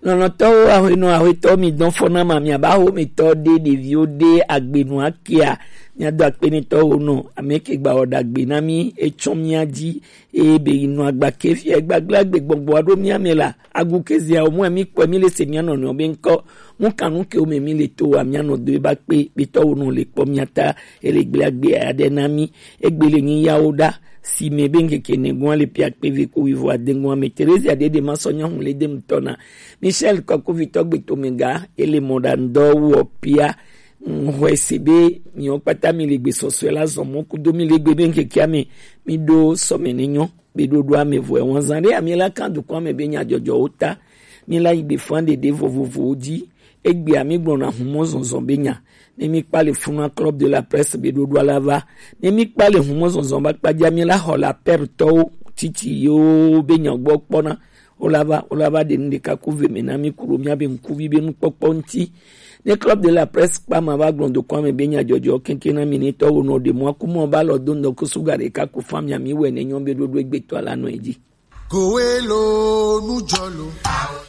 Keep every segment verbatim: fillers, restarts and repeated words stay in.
Lɔlɔ̃tɔwo, ahuenɔ, ahuetɔwo, mi dɔn fɔ na ma, mi aba ho mi tɔ de ɖeviwo de agbenu akea. Mi ado akpe ne tɔwo nɔ, ame ke gba wɔ ɖagbe na mi, etsɔ mia dzi, eye be yi nɔ agba ke fia gbagblagbe gbɔgbɔ aɖo mia me la, agu ke zia o mu mi kpɔ mi le se mia nɔ nɔ be ŋkɔ. Mu kanu ke o me mi le to wa mia nɔ do e ba kpe, be tɔwo nɔ le kpɔ mia ta, ele gble agbe aɖe na mi, egbe le nyi yawo ɖa, si me be ŋkeke ne gua le pia kpe ve ko wivo adeŋua me. Terezia ɖe ɖe ma sɔ nyɔnu le dem tɔna. Michel Kɔkuvitɔ gbetomega, ele mɔɖaŋudɔ wɔ pia. Ŋxɔe se be miwo kpata mi le gbe sɔsɔe la zɔn mɔ kudo mi le gbe be ŋkekea me, mi ɖo sɔme ne nyɔ be ɖoɖoa me vɔe. Wɔn zan ɖe ami la kan dukɔa me be nyadzɔdzɔwo ta. Mi la yi gbe fan ɖeɖe vovovowo dzi. Egbea mi gblɔna humɔ zɔnzɔn be nya. Ne mi kpa le funa Club de la Presse be ɖoɖoa la va. Ne mi kpa le humɔ zɔnzɔn ba kpadza mi la xɔ la pɛrtɔwo titi yo be nya gbɔ kpɔna. Wo la va, wo la va ɖe nu ɖeka ku ve me na mi ku ɖo mia be ŋkuvi be nukpɔkpɔ ŋuti. Ne Club de la Presse kpa ma va gblɔ dokɔa me be nyadzɔdzɔ keŋkeŋ na mi ne tɔwo nɔ ɖe mɔ aku mɔ ba lɔ do ŋdɔ ku suga ɖeka ku fa mia mi wɛ ne nyɔ be ɖoɖo egbetɔ la nɔ edzi. Kowe lo nujɔ lo.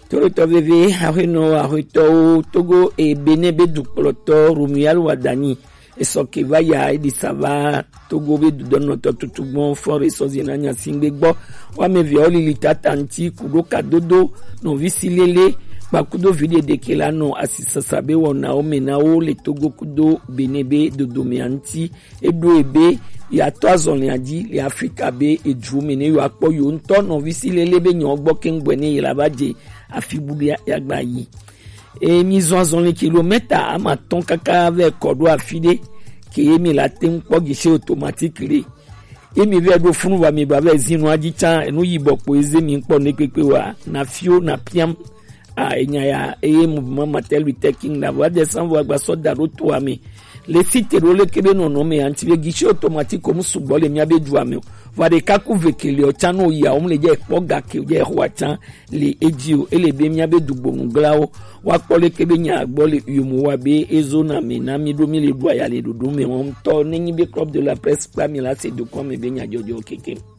Torotɔ veve, ahuenɔ, ahuetɔwo, Togo e Benin be dukplɔtɔ Romuald Wadagni esɔ ke va ya, eɖi sa va Togo be dudɔnɔtɔ tutu gbɔn fɔ re sɔ zina nya singbe gbɔ. Wa me via wo lili tata ŋuti kuɖo kadodo nɔvi si lele kpakudo vi ɖeɖe ke la nɔ asisasa be wɔnawo me na wo le Togo kudo Benin be dodome ŋuti. Eɖo ebe yeatɔ azɔlia dzi le Afrika be edu me ne yewoakpɔ yewo ŋutɔ nɔvi si lele be nyawo gbɔ keŋ gbɔe ne yela va dze afi bu ɖe yeagba yi. E, mi zɔn azɔli kilomita ama tɔn kaka vɛ kɔ ɖo afi ɖe ke ye mi la te ŋu kpɔ guichet automatique ɖe. Ye mi vɛ ɖo funu va mi ba vɛ zinu adzi tsa enu yibɔ kpo eze mi kpɔ ne kpekpe wa na fio na piam. A, enya ya eye mouvement Martin Luther King la va descend va gba sɔ da ɖo toa me. Le site ɖo leke be nɔnɔ me anti be guichet automatique ko mu sugbɔ le mia be dua me o. Va ɖeka ku ve kele o tsa no ya o mu le dze kpɔ ga ke o dze xɔ atsa le edzi o. Ele be mia be dugbonu glawo wa kpɔ leke be nya gbɔ le yomo wa be ezo na me na mi ɖo mi le ɖu aya le ɖoɖo me wɔn tɔ ne nyi be Club de la Presse kpa mi la se dokɔ me be nya dzɔdzɔ keke.